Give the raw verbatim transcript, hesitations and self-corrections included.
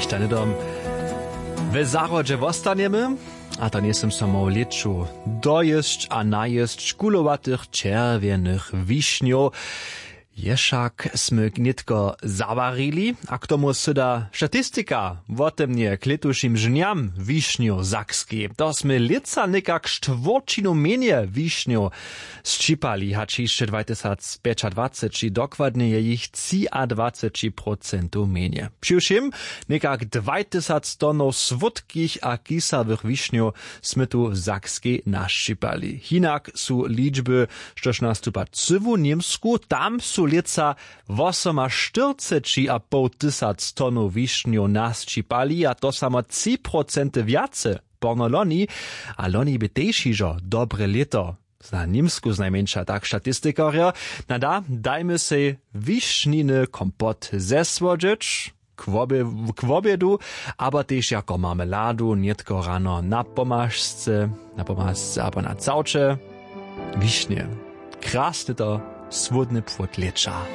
Stanydom we zahrodźe wostanjemy. A to njejsym so móhł lěću dojěsć a najěsć kulowatych čerwjenych wišnjow. Ješak smy nětko zawarili a k tomu syda statistika wotemnje k lětušim žnjam wišnjow w sakskej. To smy lětsa někak štwórćinu mjenje wišnjow sćipali hač hišće dwatysacpjećadwaceći, dokładnje je jich třiadwaceći procentow mjenje. Přiwšěm někak dwajtysac tonow słódkich a kisawych wišnjow smy tu w sakskej našćipali. Hinak su ličby, štož nastupa cyłu němsku, tam su lětsa wosomaštyrceći a poł tysac tonow wišnjow našćipali a to samo tři procenty wjace porno loni. A loni bě tež hižo dobre lěto za němsku znajmjeńša, tak statistikarjo. Na da, dajmy sej wišniny kompot zesłodźeć k wobě-, k wobjedu, abo tež jako marmeladu nětko rano na pomažce, na pomažce abo na całče. Wišnje, krasny to słódny płód lěća.